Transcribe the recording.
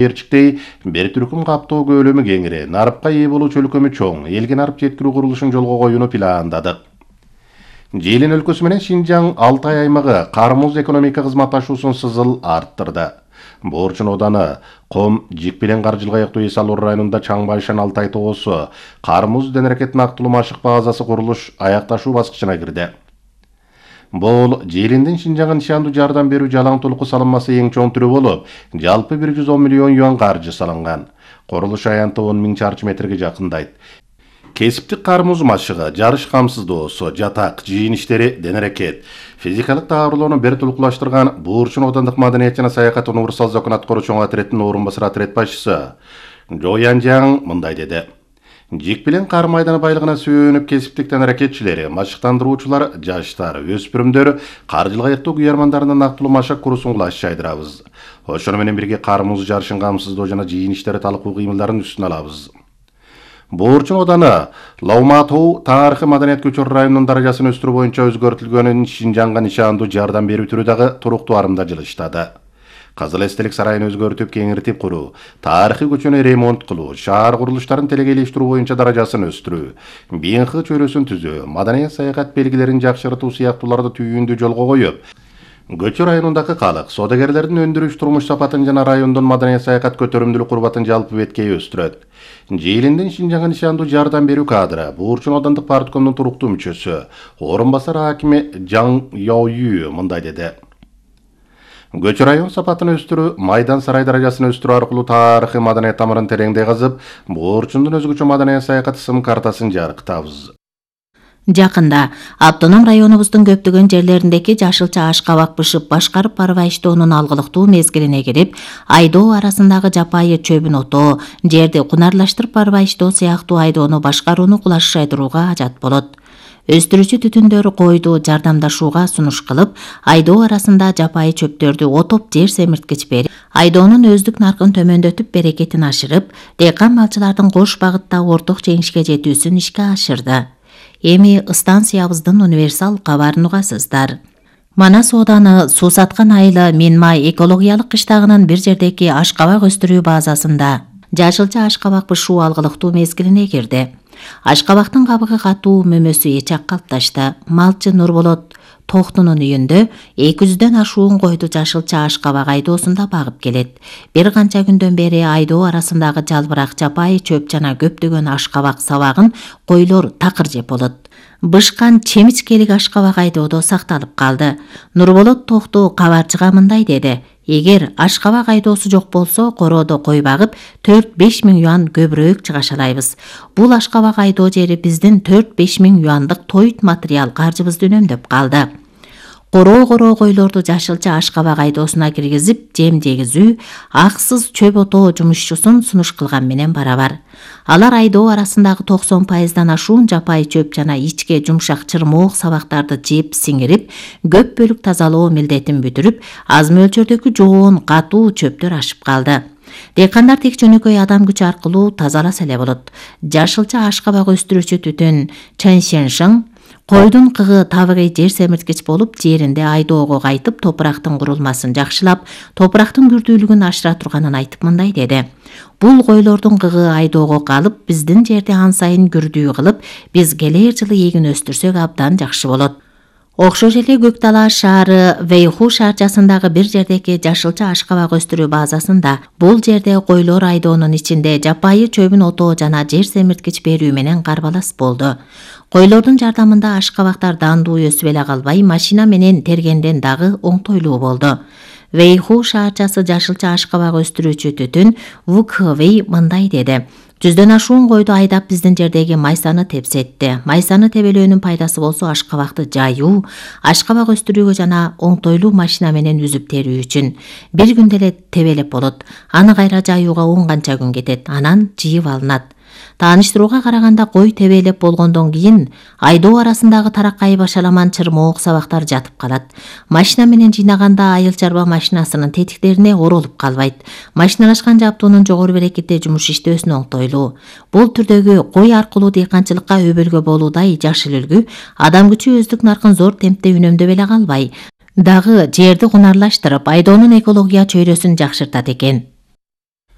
Эрчиктей бир түркүм каптоо көлөмү кеңири, нарыпка ээ болуу чөлкөмү чоң, элге нарып жеткирүү курулушун жолго коюуну пландадык. Жээлин өлкөсү менен Шинжаң Алтай аймагы кармуз экономика кызматташуусун сызыл арттырды. Боорчун ооданы Ком Жикпилен Каржылга аяктуу эс алуу районунда Чаңбайшан Алтай тоосу кармуз денерекет нактылуу машык базасы курулуш аякташуу баскычына кирди. Бул Жээлинден Шинжаңга нишандуу жардам берүү жалаң толуку салынмасы эң чоң түрү болуп, жалпы 110 миллион юан каржы салынган. Курулуш аянты 10 000 чарчы метрге жакындайт. Кесиптик кармуз машыгы, жарыш камсыздоосу, жатак, жыйын иштери, денерекет, физикалык даарылоону бир тулкулаштырган Боорчун оодандык маданият жана саякат универсал закон аткаруу чоң отреддин орун басары отред башчысы Жо Янжаң мындай деди. Жикпилен кар майданы байлыгына сүйөнүп кесиптик денерекетчилери, машыктандыруучулар, жаштар, өспүрүмдөр каржылык аяктоо күйөрмандарына нактылуу машык курусун кылаш жайдырабыз. Ошону менен бирге кармуз жарышын камсыздоо жана жыйын иштери талкуу кыймылдарын үстүнө алабыз. Боорчун ооданы Лауматоу тарыхый маданият көчөр районунун даражасын өстүрүү боюнча өзгөртүлгөнүн Шинжаңга нишандуу жардам берүү түрү дагы туруктуу арымда жылыштады. Кызыл эстелик сарайын өзгөртүп, кеңиртип куруу, тарыхый көчөнү ремонт кылуу, шаар курулуштарын телегейлештирүү боюнча даражасын өстүрүү, БНХ чөйрөсүн түзүү, маданият саякат белгилерин жакшыртуу сыяктууларды түйүүндү жолго коюп, Көчө районундагы калык, содагерлердин өндүрүш турмуш сапатын жана райондун маданият саякат көтөрүмдүүлүк курбатын жалпы беткей өстүрөт. Жээлинден Шинжаңга нишандуу жардам берүү кадры, Боорчун оодандык парткомдун туруктуу мүчөсү, орун басары акими Жаң Яою мындай деди. Көчө район сапатын өстүрүү, майдан сарай даражасын өстүрүү аркылуу тарыхый маданият тамырын тереңдей казып, Боорчундун өзгөчө маданият саякат сым картасын жарыктабыз. Жакында автоном районубуздун көптөгөн жерлериндеги жашылча аш кабак бышып башкарып барбайыштоонун алгылыктуу мезгилине кирип, айдоо арасындагы жапайы чөбүн отоо, жерди кунарлаштырып барбайыштоо сыяктуу айдоону башкарууну кулашайдырууга ажат болот. Өстүрүүчү түтүндөр койду жардамдашууга сунуш кылып, айдоо арасында жапайы чөптөрдү отоп жер семирткич берип, айдоонун өздүк наркын төмөндөтүп берекетин ашырып, дыйкан малчылардын кош багытта орток жеңишке жетүүсүн ишке ашырды. Эми станциябыздын универсал кабарын угасыздар. Манас ооданы суу саткан айылы Менмай экологиялык кыштагынын бир жердеги аш кабак өстүрүү базасында жашылча аш кабак бышуу алгылыктуу мезгилине кирди. Аш кабактын кабыгы катуу, мөмөсү эчак калыпташты. Малчы Нурболот Токтунун үйүндө 200дөн ашуун койду жашылча аш кабак айдоосунда багып келет. Бир канча күндөн бери айдоо арасындагы жалбырак жапайы чөп жана көптөгөн аш кабак сабагын койлор такыр жеп болот. Бышкан чемичкелик аш кабак айдоодо сакталып калды. Нурболот Токту кабарчыга мындай деди. Эгер аш кабак айдоосу жок болсо, короодо кой багып 4-5 миң юан көбүрөөк чыгашалайбыз. Бул аш кабак айдоо жери биздин 4-5 миң юандык тоют материал каржыбызды үнөмдөп калды. Короо койлорду жашылча аш кабак айдоосуна киргизип, жем жегизүү, аксыз чөп отоо жумушчусун сунуш кылган менен барабар. Алар айдоо арасындагы 90%дан ашуун жапайы чөп жана ичке жумшак чырмоок сабактарды жеп сиңирип, көп бөлүк тазалоо милдетин бүтүрүп, аз мөлчөрдөгү жоон, катуу чөптөр ашып калды. Дыйкандар тек жөнөкөй адам күчү аркылуу тазаласа эле болот. Жашылча аш кабак өстүрүүчү түтүн Чэншэншың койдун кыгы табыгый жер семирткич болуп, жеринде айдоого кайтып, топурактын курулмасын жакшылап, топурактын күрдүүлүгүн ашыра турганын айтып мындай деди. Бул койлордун кыгы айдоого калып, биздин жерди ан сайын күрдүү кылып, биз келер жылы эгин өстүрсөк абдан жакшы болот. Окшош эле Көктала шаары Вэйху шаарчасындагы бир жердеги жашылча аш кабак өстүрүү базасында бул жерде койлор айдоонун ичинде жапайы чөбүн отоо жана жер семирткич берүү менен карбалас болду. Койлордун жардамында аш кабактар дандуу өсүп эле калбай, машина менен тергенден дагы оңтойлуу болду. Вэйху шаарчасы жашылча аш кабак өстүрүүчү түтүн Вукхвей мындай деди. 100дөн ашуун койду айдап биздин жердеги майсаны тепсетти. Майсаны тебелөөнүн пайдасы болсо аш кабакты жайуу, аш кабак өстүрүүгө жана оңтойлуу машина менен үзүп терүү үчүн. Бир күндө эле тебелеп болот. Аны кайра жайууга 10 канча күн кетет. Анан жыйып алынат. Тааныштырууга караганда кой тебелеп болгондон кийин айдоо арасындагы тараккай башаламан чырмоок сабактар жатып калат. Машина менен жыйнаганда айыл чарба машинасынын тетиктерине оролуп калбайт. Машиналашкан жабдуунун жогору берекетте жумуш иштөөсүнө оңтойлуу. Бул түрдөгү кой аркылуу дыйканчылыкка өбөлгө болуудай жашыл үлгү адам күчү өздүк наркын зор темпте үнөмдөп эле калбай, дагы жерди кунарлаштырып, айдоонун экология чөйрөсүн жакшыртат экен.